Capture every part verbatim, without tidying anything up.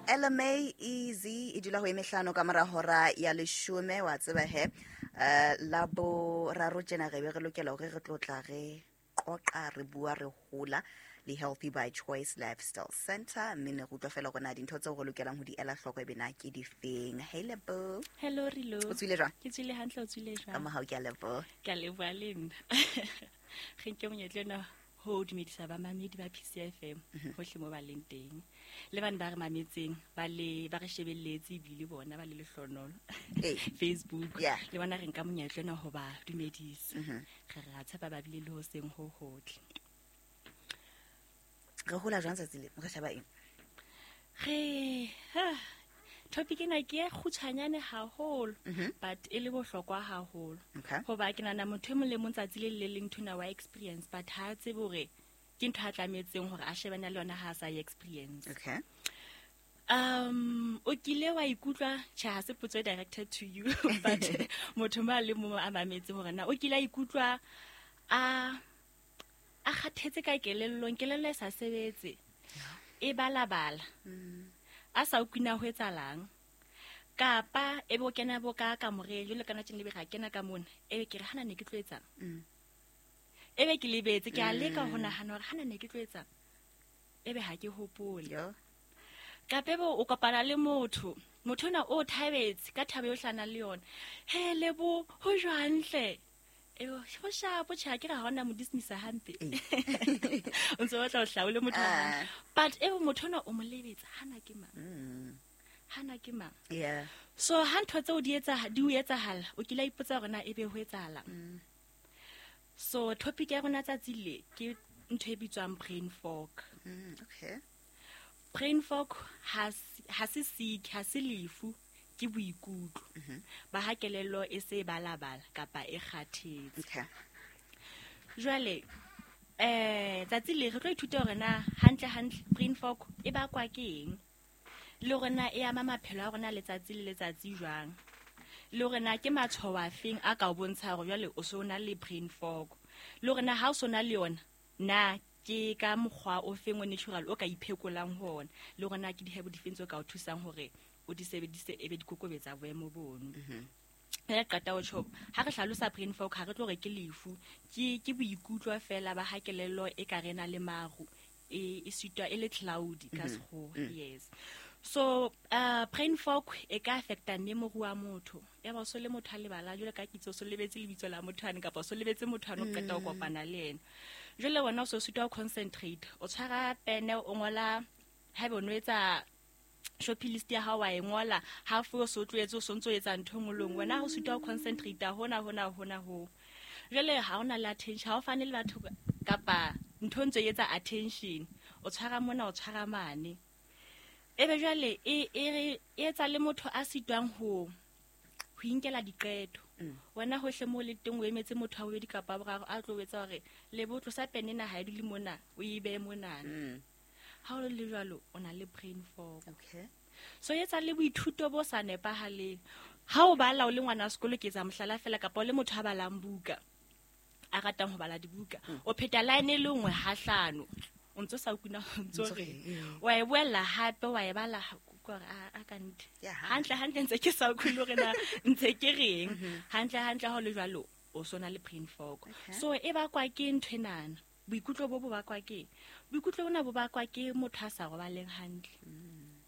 L M A Easy e dula ho e mehlano ka mora hora ya leshome wa tseba he eh la boraro tjena re be re lokela hore re tlo tla re qoqa re bua re hola le Healthy by Choice Lifestyle Center mme ne re utlwa fela hore na dintho tseo re lokelang ho di ela hloko e be na ke difeng. Hey Lebo. Hello Rilo. O tswile jwang? Ke tswile hantle, o tswile jwang? Ka mohau ke a leboha. Ke a leboha le nna. Re nke monyetla ona ho dumedisa ba mamedi ba P C F M hohle mo ba leng teng. Le bana ba re mametseng ba le ba re shebelletse ebile bona ba le lehlonolo. Facebook. Le bona re nka monyetla ona ho ba dumedisa. Re re a tshepa ba bile le ho seng ho hotle. Re hola jwang tsatsi le? Re sheba eng? Re ha topic ena ke e kgutshwanyane haholo but e le bohlokwa haholo. Hoba ke nahana motho e mong le mong tsatsi le le leng ntho ena wa experience but ha a tsebe hore ke ntho a tlametseng hore a shebane le yona ha a sa e experience. Okay. Um o kile wa ikutlwa tjhe ha se potso e directed to you but motho ma le mong a mametse hore na o kile a ikutlwa a a kgathetse ka kelellong, kelello e sa sebetse e balabala a sa utlwina ho etsalang kapa e bo kena bo ka kamoreng jwalo kana tjena le be ga kena ka mona e be ke re hana ne ke tlo etsang e be ke lebetse ke a leka ho nahana hore hana ne ke tlo etsang e be ha ke hopole. Kapa e bo o kopana le motho motho ona o thabetse ka thabo eo hlana le yona he lebo ho jwang hle e ho shapo tjha ke re ha ona mo dismissa hampe o ntse o batla ho hlaole motho wa but e motho ona o mo lebetsa hana ke mang hana ke mang. Yeah. So ha ntho tseo di etsa di o etsahala o kile a ipotsa hore na ebe ho etsahala. So topic ya rona tsatsi le ke ntho e bitswang brain fog. Mm, okay. Brain fog ha ha se sick ha se lefu ke boikutlo ba ha kelello e se balabala kapa e kgathetse. Okay. Jwale eh tsatsi le re tlo ithuta hore na hantle hantle brain fog e bakwa ke eng le hore na e ama maphelo a rona letsatsi le letsatsi jwang le hore na ke matshwao a feng a ka o bontsha hore jwale o so na le brain fog le hore na ha o so na le yona na ke ka mokgwa o feng o natural o ka iphekolang ho ona le hore na ke dihebo difeng tse ka o thusang hore o di sebedise e be di kokobetsa boemo bono. Re qeta ho tjho ha re hlalosa brain fog ha re tlo re ke lefu ke ke boikutlo fela ba ha kelello e ka rena le maru e e sitwa e le cloudy ka sekgowa. Yes. So uh brain fog e ka affecta memory wa motho ya ba so le motho a lebala jwale ka kitso so lebetse lebitso la motho ane kapa so lebetse motho ane o qeta ho kopana le yena jwale wena o so sitwa ho concentrate o tshwara pene o ngola haebe o no etsa shopping list ya hao wa e ngola half o so tloetse o sontso etsa ntho ngolong wena ho sitwa ho concentrate hona hona hona ho jwale ha ona le attention ha o fane le batho kapa ntho ntse etsa attention o tshwara mona o tshwara mane ebe jwale e e etsa le motho a sitwang ho ho inkela diqeto wena hohle mo le teng o emetse motho a bobedi kapa boraro a tlo etsa hore le botlo sa pene na ha e dule mona o e behe mona ha o le jwalo o na le brain fog. Okay. So etsa le boithuto bo sa nepahaleng ha o bala o le ngwana sekolo ke etsa mohlala fela kapa o le motho a balang buka a ratang ho bala dibuka o pheta line e le nngwe ha hlano o ntso sa ukuna o ntso re wa e boela hape wa e bala gore a ka nthe hantle hantle ntse ke sa utlwe hore na ntse ke reng hantle hantle ha o le jwalo o sona le brain fog. So e bakwa ke ntho enana boikutlo bo bo bakwa ke boikutlo bona bo bakwa ke motho a sa robaleng hantle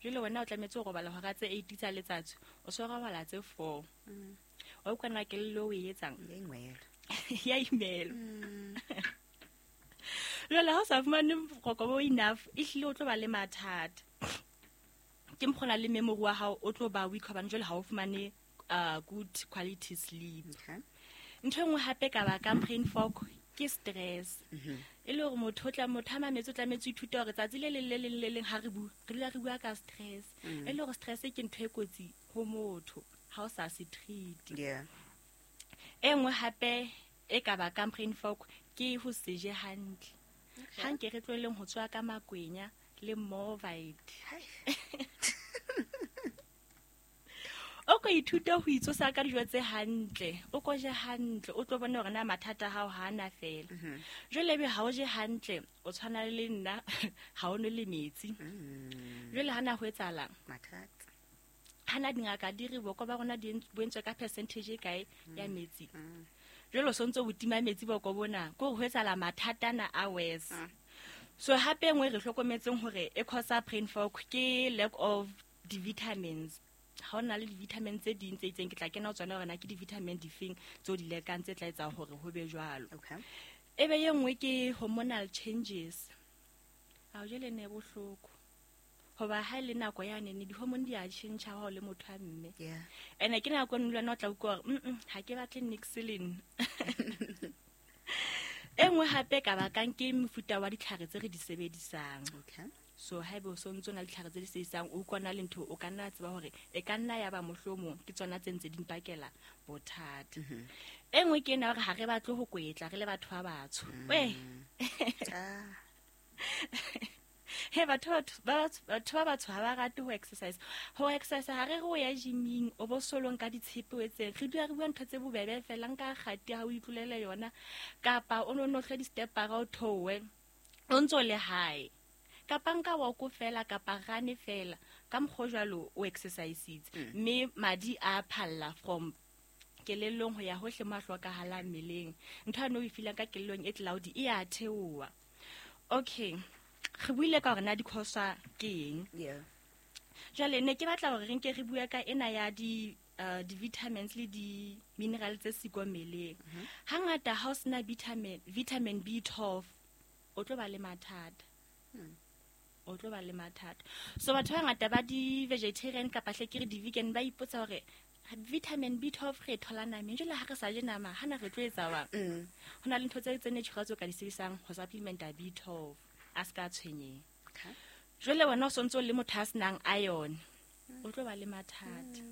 jwale wena o tlametse ho robala hora tse eight tsa letsatsi o so robala tse four wa utlwa na kelello o e etsang ya imelo jwale ha o sa fumane boroko bo enough e hlile o tlo ba le mathata ke mokgona le memory wa hao o tlo ba weak hobane jwale ha o fumane good quality sleep. Ntho e nngwe hape ka bakang brain fog ke stress e le hore motho o tla motho a mametse o tlametse ho ithuta hore tsatsi le leng le leng le leng ha re bua re dula re bua ka stress e le hore stress ke ntho e kotsi ho motho ha o sa se treat. E nngwe hape e ka bakang brain fog ke ho se je hantle ha nke re tlohelleng ho tswa ka makwenya le Morvite o ko ithuta ho itsosa ka dijo tse hantle o ko je hantle o tlo bona hore na mathata a hao ha ana fela jwale ebe ha o je hantle o tshwana le nna ha o nwe le metsi Jwale ha na ho etsahalang? Mathata. Ha na dingaka di re boko ba rona di bo entswe ka percentage e kae ya metsi. Jwale o sontso o tima metsi boko bona, ke hore ho etsahala mathata ana a worse. So hape e nngwe re hlokometseng hore e cause brain fog ke lack of di-vitamins. Ha o na le di-vitamin tse ding tse itseng, ke tla kena ho tsona hore na ke di-vitamin difeng tseo di lekang tse tla etsa hore ho be jwalo. Okay. E be ye nngwe ke hormonal changes. Ha o jele ne bohloko. Hoba ha e le nako ya nene di-hormone di a tjhentjha ha o le motho wa mme. Yeah. Ene ke nako e nngwe le wena o tla utlwa hore, mm-mm, ha ke batle niks le nna. E nngwe hape ka bakang ke mofuta wa ditlhare tse re di sebedisang. Okay. So haeba o sontso na le ditlhare tse di sebedisang, o utlwana le ntho, o ka nna tseba hore e ka nna ya ba mohlomong ke tsona tse ntse di mpakela bothata. E nngwe ke ena hore ha re batle ho kwetla re le batho ba batsho. Weh. Ah. He, batho ba batho, batho ba batsho ha ba rate ho exercise. Ho exercise ha re re o ya gyming, o bo solong ka ditshepe o etseng. Re dula re bua ntho tse bobebe fela, nka kgati ha o itlolele yona, kapa o no no hlwe di-step-ara o theohe, o ntso le hae. Kapa nka walk fela, kapa run fela, ka mokgwa o jwalo o exercise-itse. Mme madi a phalla from kelellong ho ya hohle mo a hlokahalang mmeleng. Ntho eno o e feelang ka kelellong e cloudy e a theoha. Okay. Re buile ka hore na di-cause ke eng. Yeah. Jwale ne ke batla hore re nke re bue ka ena ya di, uh, di-vitamins le di-mineral tse siko mmeleng. Hangata ha o sena vitamin, vitamin B twelve, o tlo ba le mathata. O tlo ba le mathata. So batho ba bangata ba di-vegetarian kapa hle ke re di-vegan ba ipotsa hore vitamin B twelve re e thola nameng, jwale ha re sa je nama, hana re tlo etsa jwang? Mm. Ho na le ntho tse tse natural tseo ka di sebedisang ho supplementa B twelve, a ska tshwenyeha. Okay. Jwale wena o sontso le motho a senang iron, o tlo ba le mathata.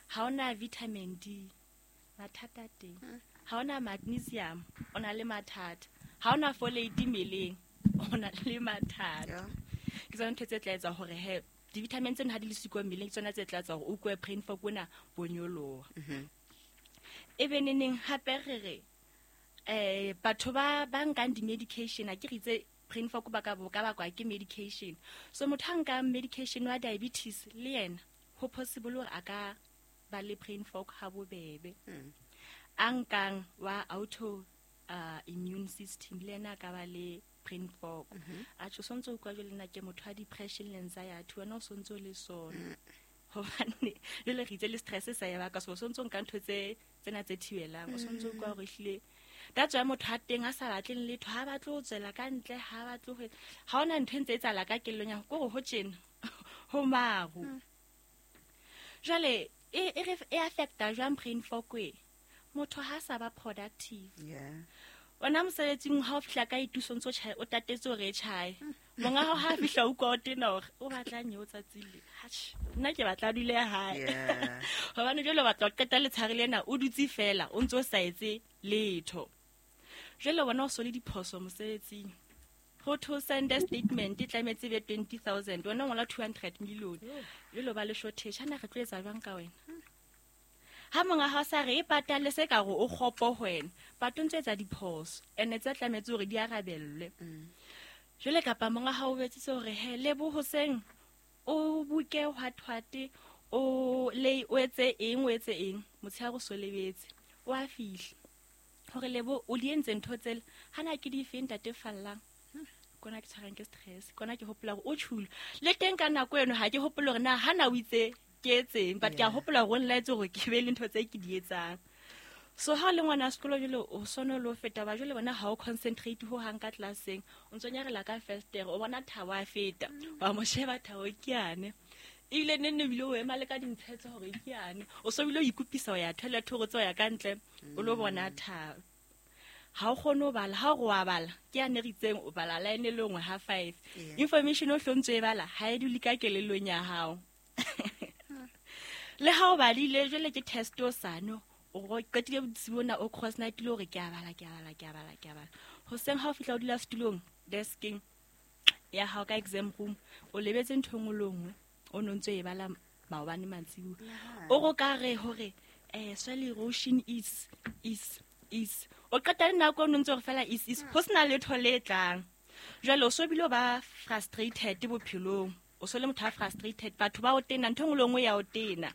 Ha ona vitamin D, mathata teng. Ha ona magnesium, o na le mathata. Ha ona folate mmeleng, o na le mathata. Yeah. Ke tsona ntho tse tla etsa hore he di-vitamin tseno ha di le siko mmeleng, ke tsona tse tla etsa hore o utlwe brain fog ona bo nyoloha. E be neneng hape re re, eh, batho ba, ba nkang di-medication, ha ke re itse brain fog ba ka bo ka bakwa ke medication. So motho a nkang medication wa diabetes le yena, ho possible hore a ka ba le brain fog ha bobebe. A nkang wa auto, uh, immune system le yena a ka ba le brain fog. Atjhe, o sontso o utlwa jwale nna ke motho wa depression le anxiety, wena o sontso o le sona. Hobane jwale re itse le stress sa ya baka, so o sontso o nka ntho tse, tsena tse thibelang, o sontso o utlwa hore ehlile that's why motho a teng a sa batleng letho, ha batle ho tswela ka ntle, ha batle ho, ha hona ntho e ntse e etsahala ka kellong ya hao, ke hore ho tjena, ho maru. Jwale e, e re, e affecta jwang brain fog e? Motho ha sa ba productive. Yeah. Wena mosebetsing ha o fihla ka ituso ntso tjhae, o tatetse hore e tjhae. Monga hao ha fihla o utlwa o tena hore o batlang eo tsatsi le. Atjhe, nna ke batla a dule hae. Yeah. Hobane jwale o batla ho qeta letshehare lena o dutse fela, o ntso sa etse letho. Jwale wena o so le diphoso mosebetsing. Ho to send a statement e tlametse e be twenty thousand, wena o ngola two hundred million. Jwale o ba le shortage, hana re tlo etsa jwang ka wena? Ha monga hao sa re e patale se ka re o kgopo ho wena, but o ntso etsa diphoso, ene tse tlametse hore di arabellwe. Jwale kapa monga hao o betsitse hore he, lebo hoseng o buke hwathwate, o le o etse eng, o etse eng, motshehare o so lebetse, o a fihla. Hore lebo o di entse ntho tsela, hana ke di fe ntate Fallang? Kona ke tshwarang ke stress, kona ke hopola hore o tjhule. Le teng ka nako eno ha ke hopole hore na hana o itse ke etseng, but ke a Yeah. hopola hore o nlaetse hore ke be le ntho tse ke di etsang. So ha o le ngwana sekolo jwale o sono le ho feta ba jwale bona ha o concentrate ho hang ka classeng, o ntso nyarela ka festere, o bona Thabo a feta, wa mo sheba Thabo ke yane. Ebile neng neng ebile o ema le ka dintshetso hore ke yane. O so bile o ikopisa ho ya toilet hore o tswe ho ya ka ntle, o lo bona Thabo. Ha o kgone ho bala, ha o re wa bala, ke yane re itseng o bala line e le nngwe ha five. Yeah. Information o hlontse e bala, ha e dule ka kelellong ya hao. Le ha o badile jwale ke test o sano, o ro qetile bosiu bona o cross night le hore ke a bala, ke a bala, ke a bala, ke a bala. Hoseng ha o fihla o dula setulong, deskeng ya hao ka exam room, o lebetse ntho e nngwe le nngwe o no ntso e bala maobane mantsibuya. Nahana. O ro ka re hore, eh, soil erosion is, is, is. O qeta le nako o no ntso re fela is, is. Ho sena letho le tlang. Jwale o so bile o ba frustrated bophelong. O so le motho a frustrated, batho ba o tena, ntho e nngwe le nngwe ya o tena.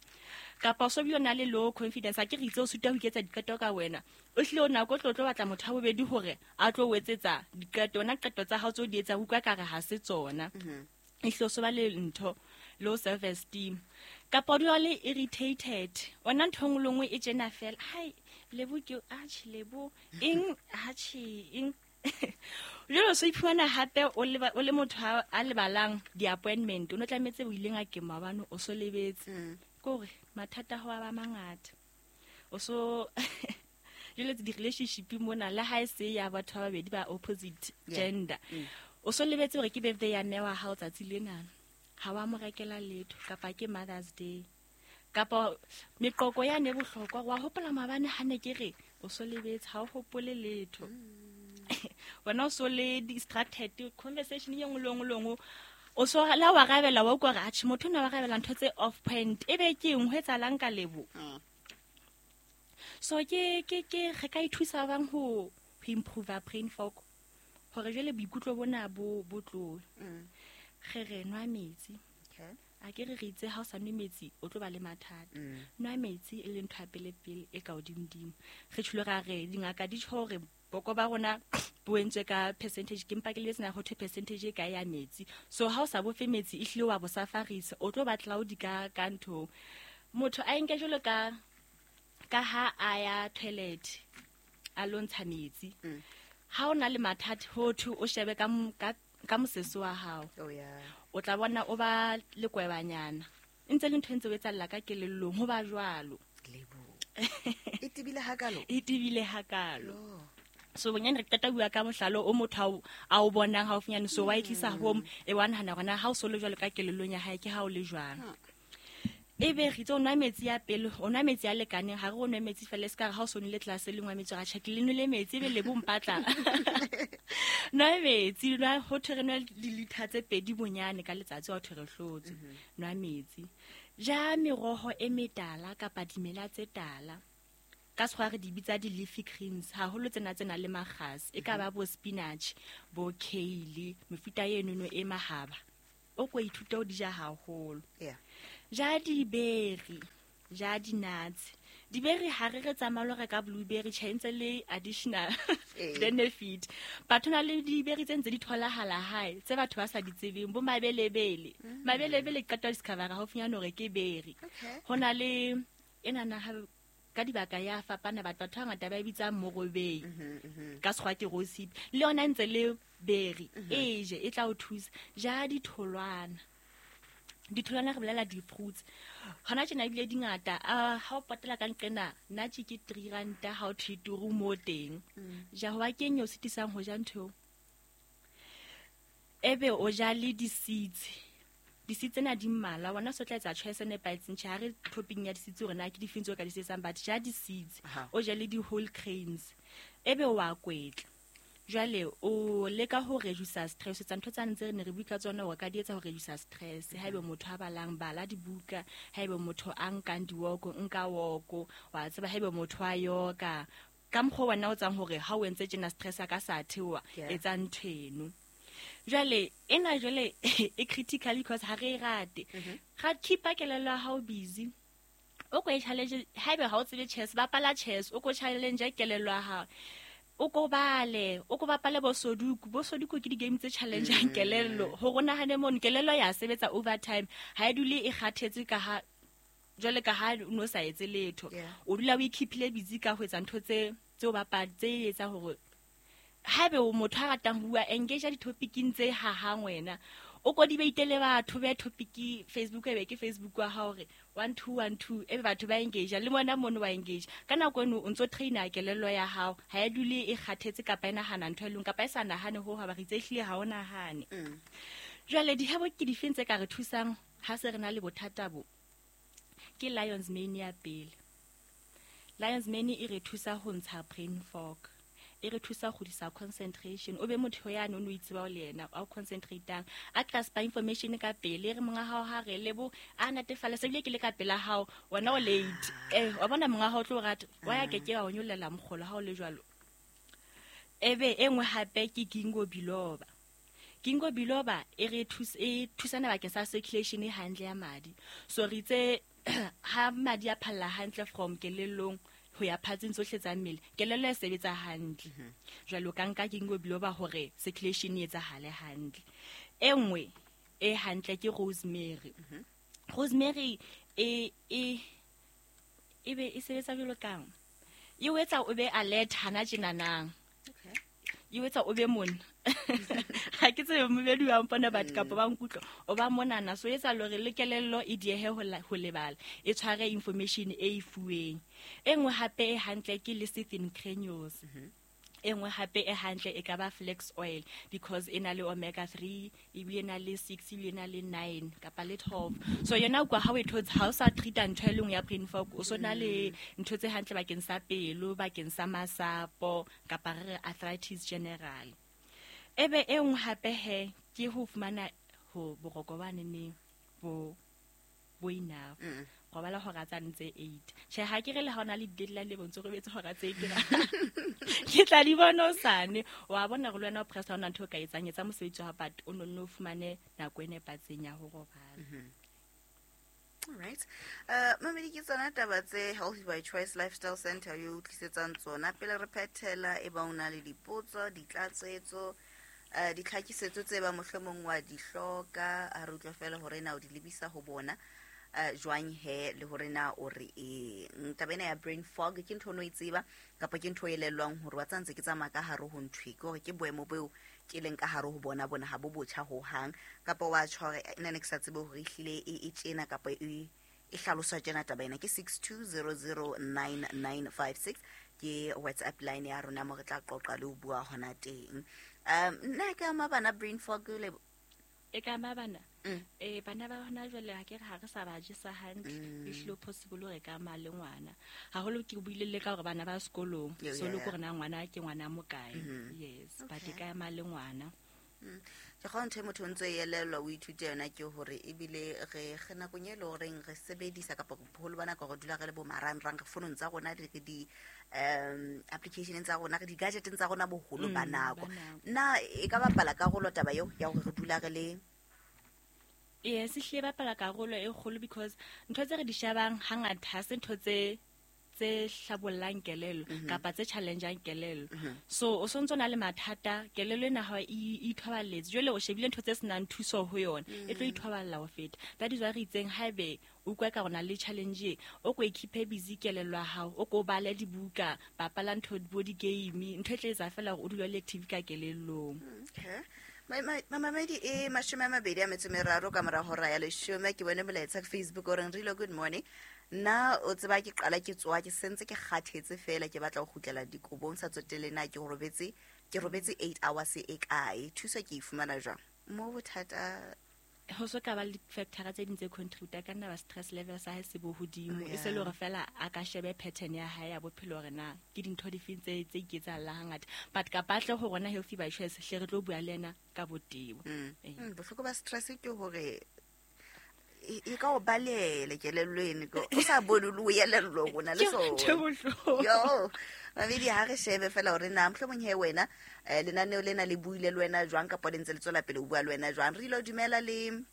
Kapa o so bile o na le low confidence, a ke re itse o sitwa ho iketsa diqeto ka wena. O hlile o nako o tlo tlo batla motho wa bobedi hore a tlo o etsetsa diqeto, wena qeto tsa hao tseo di etsa utlwa ka re ha se tsona. E hlile o so ba le ntho low self esteem. Kapa o dula o le irritated, wena ntho e nngwe le nngwe e tjena fela. Hai, Lebo ke atjhe, Lebo eng, atjhe eng. Jwale o so iphumana hape o le o le motho a, a lebalang di-appointment, o no tlametse o ile ngakeng maobane, o so lebetse. Ke hore mathata ho a ba mangata. O so jwale di-relationship mona le ha e se ya batho ba babedi ba opposite Yeah. gender. O so lebetse hore ke birthday ya mme wa hao tsatsi lena. Ha wa mo rekela letho, kapa ke Mother's Day. Kapa meqoqo yane e bohlokwa, wa hopola maobane ha ne ke re o so lebetse, ha o hopole letho. Wena o so le distracted, conversation e nngwe le nngwe le nngwe. O so la wa arabela, wa utlwa hore atjhe motho ona wa arabela ntho tse off point. Ebe ke eng ho etsahalang ka Lebo? So ke ke ke re ka ithusa bang ho ho improve brain fog. Hore jwale boikutlo bona bo bo tlohe. Re re nwa metsi. Okay. A ke re re itse ha o sa nwe metsi o tlo ba le mathata. Nwa metsi e le ntho ya pele pele e ka hodimodimo. Re tjholo ra re dingaka di tjho hore boko ba rona bo entswe ka percentage, ke mpa ke lebetse na ho thwe percentage e kae ya metsi. So ha o sa bofe metsi e hlile wa bo safarisa, o tlo ba cloudy ka ka nthong. Motho a enke jwalo ka ka ha a ya toilet a lo ntsha metsi. Ha o na le mathata ho thwe o shebe ka m-, ka, ka mosese wa hao. Oh yeah. O tla bona o ba lekwebanyana. E ntse le ntho e ntse o etsahalla ka kelellong, ho ba jwalo. Lebo. E tebile hakalo? E tebile hakalo. Oh. So bonyane re qeta bua ka mohlalo o motho a o, a o bonang haufinyane, so wa e tlisa home, e wa nahana hore na ha o so le jwalo ka kelellong ya hae ke ha o le jwang. Ebe re itse o nwa metsi ya pele, o nwa metsi a lekaneng, ha re o nwe metsi fela, e se ka re ha o so nwele tlase le nwa metsi, ra tjhe, ke le nwele metsi, ebe Lebo mpatla. Nwa metsi, nwa, ho thwe re nwe dilitha tse pedi bonyane ka letsatsi, ha ho thwe re hlotse. Nwa metsi. Ja meroho e metala kapa dimela tse tala. Ka sekgowa re di bitsa di-leafy greens, haholo tsena tse nang le makgasi. E ka ba bo spinach, bo kale, mefuta enono e mahaba. O ko ithute ho di ja haholo. Yeah. Ja diberi, ja di-nuts. Diberi ha re re tsamaya lo reka blueberry, tjhe, ntse le additional Eh. benefit. Batho na le diberi tse ntse di tholahala hae, tse batho ba sa di tsebeng, bo mabelebele. Mm. Mabelebele ke qeta ho discover-a haufinyane hore ke beri. Okay. Ho na le enana ha ka dibaka ya fapana, batho batho ba bangata ba e bitsang morobei. Mm-hmm, mm-hmm. Ka sekgowa ke rosehip. Le yona ntse le beri. Mm-hmm. E je, e tla o thusa. Ja ditholwana. Ditholwana re bolela di-fruits. Hona tjena ebile di ngata. Ah, ha o potela ka nqena, nna tje ke three ranta ha o thwe turu mo teng. Mm. Ja, hoba ke eng e o sitisang ho ja ntho eo? Ebe o ja le di-seeds. Di-seeds tsena di mmalwa, wena o so tla etsa choice e nepahetseng. Tjhe, ha re topic-ing ya di-seeds hore na ke difeng tseo o ka di sebedisang, but ja di-seeds. Aha. O je le di-whole grains. Ebe wa kwetla. Jwale o leka ho reduce stress, tsa ntho tsane tse re ne re bua ka tsona hore ka di etsa ho reduce stress. Haebe motho a balang, bala dibuka. Haebe motho a nkang di-walk, nka walk. Wa tseba haebe motho a yoga. Ka mokgwa wena o tsang hore ha o entse tjena stress a ka sa theoha, Yeah. etsa ntho eno. Jwale ena jwale e critical because ha re e rate. Mm-hmm. Ra keep-a kelello ya hao busy. O ko e challenge, haebe ha o tsebe chess, bapala chess, o ko challenge kelello ya hao. O ko bale, o ko bapale bo Sudoku. Bo Sudoku ke di-game tse challenge-ang Mm. kelello. Hore o nahane mono, kelello ya sebetsa overtime. Ha e dule e kgathetse ka ha, jwale ka ha o no sa etse letho. Yeah. O dula o i-keep-ile busy ka ho etsa ntho tse, tse o bapala, tse etsang hore haebe o motho a ratang ho bua, engage di-topic-ing tse hahang wena. O ko debate le batho, be topic Facebook, ebe ke Facebook wa hao hore one two one two, ebe batho ba engage le mona mono wa engage. Ka nako eno o ntso train-a kelello ya hao, ha e dule e kgathetse kapa e nahana ntho e leng, kapa e sa nahane ho hang, ba re itse ehlile ha o nahane. Mm. Jwale dihebo ke difeng tse ka re thusang ha se re na le bothata bo? Ke Lion's Mane ya pele. Lion's Mane e re thusa ho ntsha brain fog. E re thusa ho kgutlisa concentration. O be motho yane o no itseba o le yena, a o concentrate-ang, a grasp-a information ka pele. E re monga hao ha re lebo, a natefale, se bile ke le ka pela hao, wena o late. Eh, wa bona monga hao o tlo rata, wa ya ke ke wa o nyollela mokgolo ha o le jwalo. Ebe e nngwe hape ke ginkgo biloba. Ginkgo biloba e re thus e thusana bakeng sa circulation e hantle ya madi. So re itse ha madi a phalla hantle from kelellong ho ya phatseng tsohle tsa mmele, kelello e sebetsa hantle. Jwale o ka nka ginkgo biloba hore circulation e etsahale hantle. E nngwe e hantle ke rosemary. Rosemary e e e be e sebetsa jwalo kang? E o etsa o be alert hana tjenanang. Okay. E o etsa o be mona. Ha ke tsebe mmedi wa mpona batho kapa ba nkutlwa, o ba monana. So etsa lore le kelello e diehe ho la-, ho lebala, e tshware information e e fuweng. E nngwe hape e hantle ke lecithin granules. E nngwe hape e hantle e ka ba flax oil because e na le omega three, ebile e na le six, ebile e na le nine kapa le twelve. So yona kwa ha o e thotse, ha o sa treat-a ntho e le nngwe ya brain fog, o so na le ntho tse hantle bakeng sa pelo, bakeng sa masapo, kapa re re arthritis general. Ebe e nngwe hape he ke ho fumana ho boroko ba neneng bo, bo enough. Mm. Robala hora tsa ntse eight. Tjhe, ha ke re le ha ona le deadline le bontse robetse hora tse eight. Ke tla di bona hosane. Wa bona hore le wena o press ha ona ntho o ka etsang, etsa mosebetsi wa hao, but o nonne o fumane nako e nepahetseng ya ho robala. Mm-hmm. All right. Uh, mamedi ke tsona taba tse Healthy by Choice Lifestyle Center yo tlisetsang tsona. Pele re phethela, e ba o na le dipotso, ditlatsetso, eh, ditlhakisetso tse ba mohlomong wa di hloka, a re utlwe fela hore na o di lebisa ho bona. Eh, jwang he le hore na o re eng. Taba ena ya brain fog ke ntho o no e tseba kapa ke ntho e elellwang hore wa tsantse ke tsamaya ka hare ho ntho e, ke hore ke boemo boo ke leng ka hare ho bona bona ha bo botjha hohang, kapa wa tjho hore nna ne ke sa tsebe hore ehlile e, e tjena kapa e, e hlaloswa tjena taba ena. Ke six two zero zero nine nine five six ke WhatsApp line ya rona mo re tla qoqa le ho bua hona teng. Um, nna ke ama bana brain fog le E ka ama bana? Mm. Eh, bana ba hona jwale ha ke re ha re sa ba jesa hantle, Mm. e hlile possible hore e ka ama le ngwana. Haholo ke buile le ka hore bana ba sekolong, Yo, so yeah, le yeah. hore na ngwana ke ngwana mo kae. Mm-hmm. Yes, but e Okay. ka ama le ngwana. Mm. Ke kgona ntho e motho o ntso e elellwa o ithute yona ke hore ebile re, re nakong e le horeng re sebedisa kapa boholo ba nako re dula re le bo marangrang, re founong tsa rona, re di, um, application-eng tsa rona, re di-gadget-eng tsa rona boholo ba Mm, nako. ba nako. Na e ka bapala karolo taba eo ya hore re dula re le Yes, ehlile e bapala karolo e kgolo because ntho tse re di shebang hangata ha se ntho tse, tse hlabollang kelello Mm-hmm. kapa tse challenge-ang kelello. Mm-hmm. So o sontso na le mathata, kelello ena ha e, e ithoballetse. Jwale o shebile ntho tse senang thuso ho yona, e tlo Mm. ithoballa ho feta. That is why re itseng haebe o utlwa ka rona le challenge e, o ko e keep-e busy kelello ya hao, o ko bale dibuka, bapala ntho bo di-game, ntho e tla etsa feela hore o dule o le active ka kelellong. Okay. Mamamedi e mashome a mabedi a metso e meraro ka mora hora ya leshome. Ke bone molaetsa ka Facebook o reng Rilo, good morning. Nna o tseba ke qala ke tsoha ke sentse ke kgathetse fela ke batla ho kgutlela dikobong sa tsotelle na ke robetse, ke robetse eight hours e kae. Thuso ke e fumana jwang? Mo bothata Ho so ka ba le di-factor tse ding tse contribute-a ka nna ba stress level sa hae se bo hodimo. Oh, E se le yeah. hore fela a ka shebe pattern ya hae ya bophelo hore na ke dintho dife tse, tse iketsahalang hangata. But kapa a tle ho rona Healthy by Choice, hle re tlo bua le yena ka botebo. Mm. Ee. Mm, bohloko ba stress ke hore e, e ka o balele kelello eno, ke o sa bone le o elellwa hore o na le Ke sona. ntho e bohloko. Yo, mamedi ha re shebe fela hore na mohlomong he wena, eh, lenaneo lena le buile le wena jwang kapa le ntse le tswela pele ho bua le wena jwang. Re ile dumela le,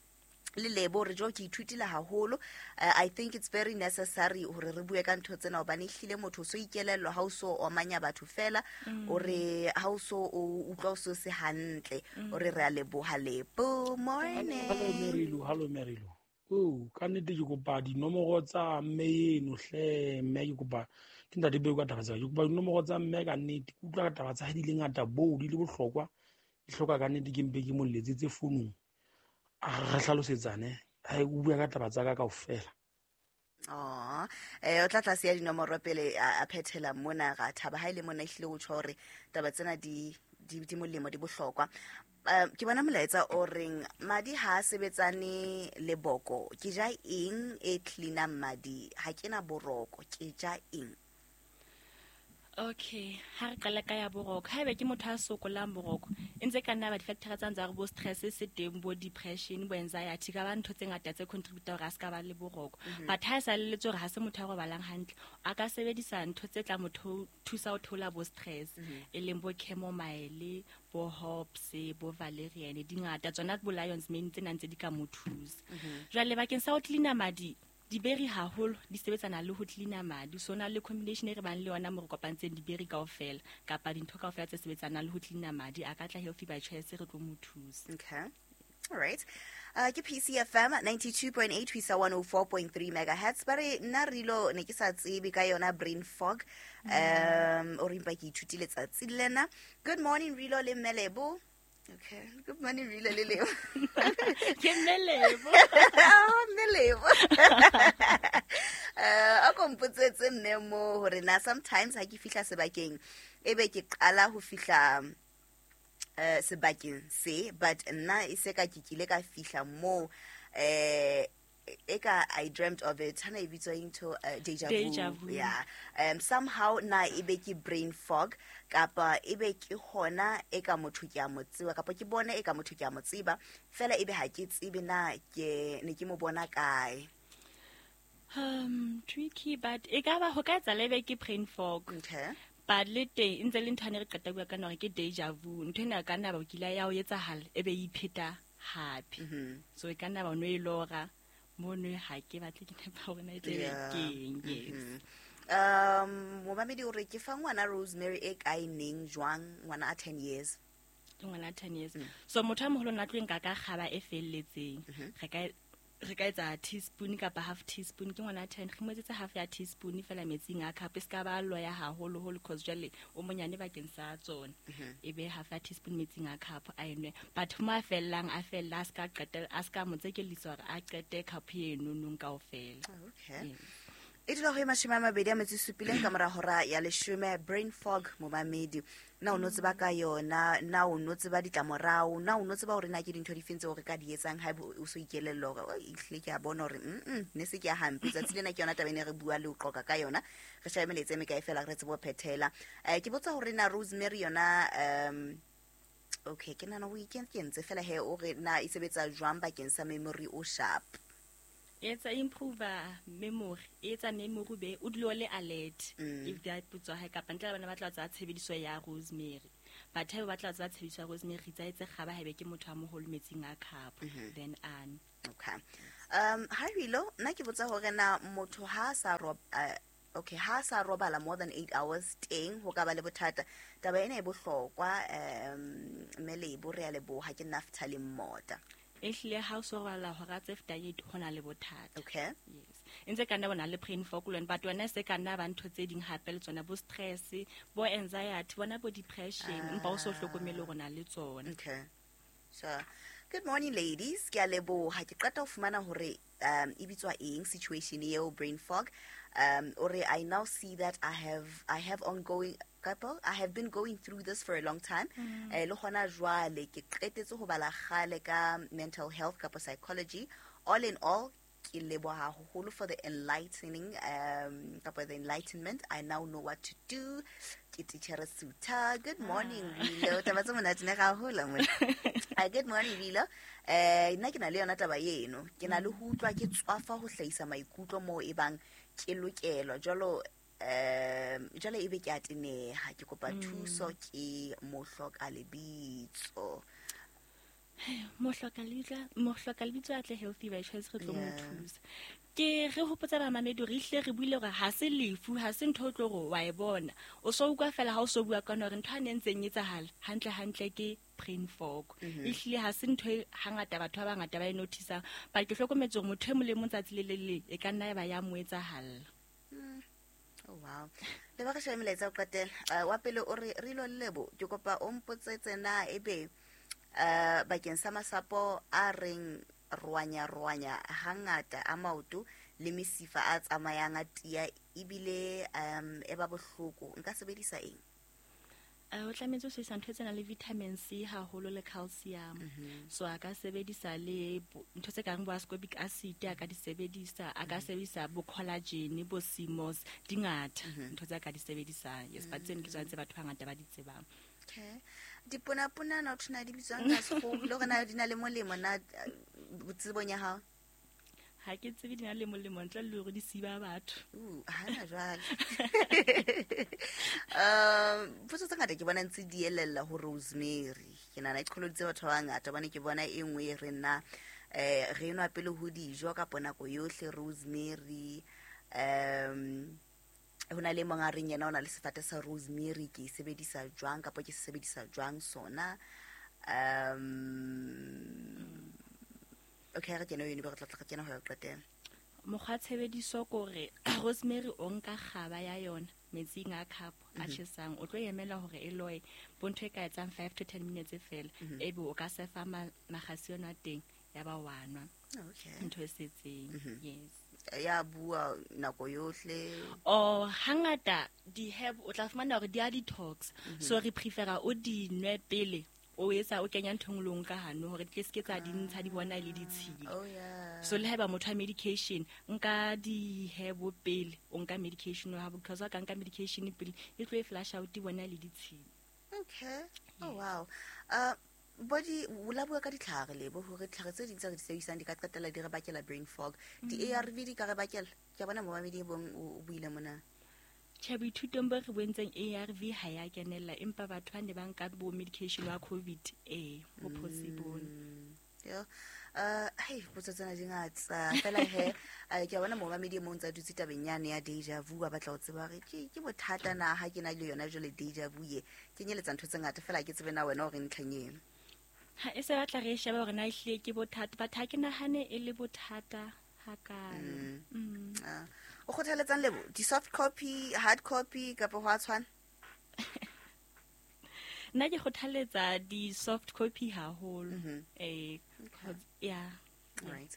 le Lebo hore jo ke ithutile haholo. Eh, I think it's very necessary hore re bue ka ntho tsena hobane ehlile motho o so ikelellwa ha o so omanya batho fela, Mm. o re ha o so o utlwa o so se hantle, Mm. o re re a leboha Lebo. Morning. Hello Mary-Lou, hello Mary-Lou. Oh, ka nnete ke kopa dinomoro tsa mme eno hle, mme ke kopa ke ntate Beko ka taba tsa ka. Ke kopa dinomoro tsa mme ka nnete, ke utlwa ka taba tsa hae di le ngata bo, di le bohlokwa. Di hloka ka nnete ke mpe ke mo letsetse founung. A re hlalosetsane, ha o bua ka taba tsa ka kaofela. Oh, eh, o tla tlase ya dinomoro pele a, a phethela mona, ra thaba ha ile mona ehlile o tjho hore taba tsena di, di, di molemo, di bohlokwa. Eh, ke bona molaetsa o reng madi ha a sebetsane le boko, ke ja eng e cleanang madi? Ha ke na boroko, ke ja eng? Okay, ha re qala ka ya boroko. Haebe ke motho a sokolang boroko, e ntse ka nna ba di-factor tsa ntse re bo stress se teng, bo depression, bo anxiety, ka ba ntho tse ngata tse contribute hore a ska ba le boroko. But ha e sa leletse hore ha se motho a robalang hantle, a ka sebedisa ntho tse tla motho thusa ho theola bo stress, e leng bo chamomile, bo hops, bo valerian, di ngata tsona bo lion's mane tsena ntse di ka mo thusa. Jwale bakeng sa ho cleaner madi, diberi haholo di sebetsana le ho cleaner madi. So na le combination e re bang le yona mo re kopantseng diberi kaofela kapa dintho kaofela tse sebetsanang le ho cleaner madi, a ka tla Healthy by Choice re tlo mo thusa. Okay. All right. Uh, ke P C F M ninety-two point eight ho isa one oh four point three megahertz. Ba re nna Rilo ne ke sa tsebe ka yona brain fog. Um, o re empa ke ithutile tsatsi lena. Good morning Rilo le Mmelebo. Okay. Good morning Rilo le Lebo. Ke Mmelebo. Oh, Mmelebo. Uh, a ko mpotsetse mme mo hore na sometimes ha ke fihla sebakeng ebe ke qala ho fihla eh sebakeng se, but nna e se ka ke kile ka fihla mo eh eka I dreamt of it, hana e bitswa into uh, deja vu. Deja vu. Yeah. Um somehow na ebe ke brain fog kapa ebe ke hona e ka motho ke a mo tseba kapa ke bone e ka motho ke a mo tseba fela ebe ha ke tsebe na ke ne ke mo bona kae. Um tricky, but e ka ba ho ka etsa lebe ke brain fog. Okay. But le teng ntse le ntho ane re qeta bua ka nore ke deja vu. Ntho ena ka nna ba o kile ya o etsahala ebe e ipheta hape. So e ka nna ba no e lora mono ha ke batle ke nepa hore na e tle keng. Yes. Um momamedi o re ke fa ngwana Rosemary e kae neng jwang, ngwana a ten years. Ke ngwana ten years. So motho a moholo na tlo nka ka kgaba e felletseng. Re ka re ka etsa teaspoon kapa half teaspoon, ke ngwana ten, re mo etsetse half ya teaspoon fela metsing a cup, e ska ba loya haholo holo cause jwale o monyane bakeng sa tsona. E be half ya teaspoon metsing a cup a enwe, but mo a fellang a fella a ska qetela a ska mo tsekellisa hore a qete cup eno nong kaofela. Okay. E dula ho e mashome a mabedi a metso e supileng ka mora hora ya leshome. Brain fog momamedi, na o no tseba ka yona, na o no tseba ditlamorao, na o no tseba hore na ke dintho difeng tseo re ka di etsang haeba o so ikelella hore o ehlile ke a bona hore mm ne se ke ya hampe tsatsi lena ke yona taba ene re bua le ho qoqa ka yona. Re shabe melaetsa e mekae fela re tsebe ho phethela. Eh ke botsa hore na Rosemary yona um okay ke nahana o ikentse fela he o re na e sebetsa jwang bakeng sa memory o sharp. Etsa improve memory, etsa memory be o dule o le alert. If that putswa hae kapa ntle le bana ba tla tsa tshebediso ya rosemary, but ha ba tla tsa tshebediso ya rosemary tsa etse kgaba haebe ke motho a moholo metsing a cup then an. Okay. Um ha Rilo nna ke botsa hore na motho ha sa rob uh, okay ha sa robala more than eight hours teng ho ka ba le bothata. Taba ena e bohlokwa um Mmelebo re a leboha ke Naftali Mmota. Ehlile ha o so robala hora tse fetang eight ho na le bothata. Okay. Yes. E ntse ka nna bona le brain fog le but wena se ka nna ba ntho tse ding hape le tsona bo stress, bo anxiety, bona bo depression, empa o so hlokomele hore na le tsona. Okay. So, good morning ladies. Ke a leboha ke qeta ho fumana hore um e bitswa eng situation eo brain fog. Um ore I now see that I have I have ongoing couple I have been going through this for a long time. Eh le hona jwale ke qetetse ho bala kgale ka mental health kapa psychology. All in all ke leboha haholo for the enlightening um kapa the enlightenment. I now know what to do. Ke teacher Suta. Good morning Rilo. Taba tse monate ne haholo mo. Good morning Rilo. Eh nna ke na le yona taba eno. Ke na le ho utlwa ke tswafa ho hlahisa maikutlo mo e bang ke lokelwa jwalo um jwale ebe ke a teneha ke kopa thuso ke mohloka lebitso. Mohloka lebitso, mohloka lebitso a tle Healthy by Choice re tlo mo thusa. Ke re hopotsa ba mamedi re hle re buile hore ha se lefu, ha se ntho o tlo re wa e bona. O so utlwa fela ha o so bua ka hore ntho a ne ntseng etsahala hantle hantle ke brain fog. Ehlile ha se ntho e hangata batho ba bangata ba e notice-ang, but ke hlokometse hore motho e mong le mong tsatsi le le leng e ka nna ya ba ya mo etsahalla. Oh wow. Le ba re shebe melaetsa o qetela. Wa pele o re Rilo Lebo ke kopa o mpotsetse na ebe uh bakeng sa masapo a reng rwanya rwanya hangata a maoto le mesifa a tsamayang a tia ebile um e ba bohloko nka sebedisa eng? O tlametse ho sebedisa ntho tse nang le vitamin C haholo le calcium. So a ka sebedisa le ntho tse kang bo ascorbic acid, a ka di sebedisa, a ka sebedisa bo collagen, bo C M O S, di ngata ntho tse a ka di sebedisang. Yes, but tseno ke tsona tse batho ba bangata ba di tsebang. Okay. Diponapona na o thuna di bitswang ka sekgowa le hore na di na le molemo na tsebong ya hao? Ha ke tsebe di na le molemo ntle le hore di siba batho. Uh, hana jwale. Um, potso tse ngata ke bona ntse di elella ho rosemary. Ke nahana e qholoditse batho ba bangata hobane ke bona e nngwe e re nna eh re nwa pele ho dijo kapa nako yohle rosemary. Um ho na le mong a reng yena o na le sefate sa rosemary, ke e sebedisa jwang kapa ke se sebedisa jwang sona. Um okay, re kene yone ba re tla tla kena ho ya qetela. Mokgwa tshebediso kore rosemary o nka kgaba ya yona metsing a cup a tjhesang, o tlo emela hore e loye bo ntho e ka etsang five to ten minutes fela, ebe o ka sefa makgasi ona teng ya ba wa nwa. Okay. Ntho e setseng. Yes. Ya bua nako yohle. Oh, hangata di herb o tla fumana hore di a detox. So re prefera o di nwe pele o etsa o kenya ntho ngolong ka hano hore di ske tsa di ntsha di bona le ditshila. Oh yeah. So le haeba motho a medication nka di herb pele o nka medication wa because ka nka medication pele e tlo e flash out di bona le ditshila. Okay. Oh wow. Uh body o la bua ka ditlhare le bo hore ditlhare tse ding tse re di sebedisang di ka qetella di re bakela brain fog. Di A R V di ka re bakela? Ke a bona momamedi e bong o buile mona. Tjhe, boithutong bo re bontseng A R V ha ya kenella, empa batho ba ne ba nka bo medication wa COVID eh ho possible. Yo. Uh hey, potso tsena di ngata fela he ke a bona momamedi e mong tsa dutse tabeng yane ya deja vu, ba batla ho tseba hore ke ke bothata na ha ke na le yona jwale deja vu ye kenyeletsa ntho tse ngata fela ke tsebe na wena hore ntlheng eno. Ha e se batla re shebe hore na ehlile ke bothata, but ha ke nahane e le bothata hakalo. Mm. O kgothaletsang lebo di soft copy, hard copy kapa ho a tshwana? Nna ke kgothaletsa di soft copy haholo. Eh yeah. Right.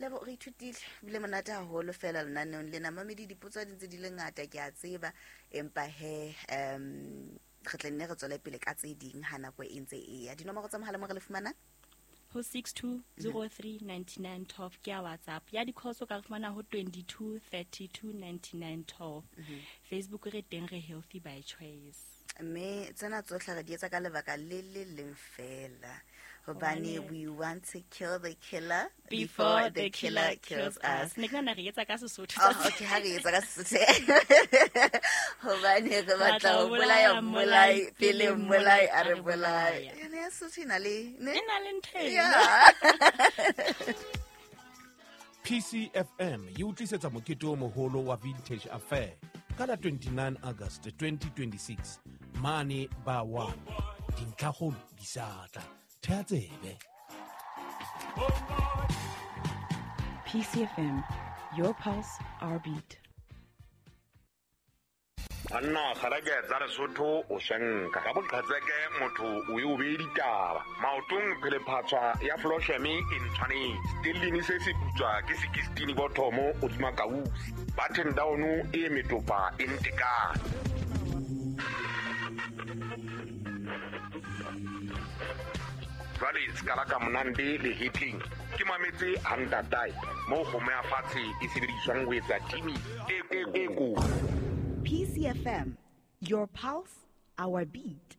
Lebo re ithutile bile monate haholo fela lenaneong lena. Mamedi dipotso di ntse di le ngata ke a tseba, empa he um re tla nne re tswele pele ka tse ding ha nako e ntse e ya. Dinomoro tsa mohala mo re le fumana ho six two zero three nine nine twelve ke ya WhatsApp. Ya di-calls o ka re fumana ho twenty-two thirty-two ninety-nine twelve. Facebook re teng re Healthy by Choice. Mme tsena tsohle re di etsa ka lebaka le le leng fela, hobane we want to kill the killer before the killer kills us. Ne ke nahana re etsa ka Sesotho. Oh, okay, ha re etsa ka Sesotho. Hobane re batla ho bolaya mmolai pele mmolai a re bolaya. Yona ya Sesotho e na le ne? E na le ntho eno. Yeah. P C F M e o tlisetsa mokete o moholo wa Vintage Affair ka la twenty-nine August twenty twenty-six mane ba one. Dintlhakgolo di sa tla. Thea tsebe. P C F M, your pulse, our beat. Banna kgarake tsa Lesotho o shenka ka boqhetseke motho o e o be ditaba maotong phelephatswa ya flosheme e ntshwanetse stellini se se putswa ke sixteen bothomo o dima kausi button down e metopa e ntekane. Jwale skala ka monande le hitling ke mametse hantatai mo kgomo ya fatshe e sebediswang ho etsa timi e e ko. P C F M, your pulse, our beat.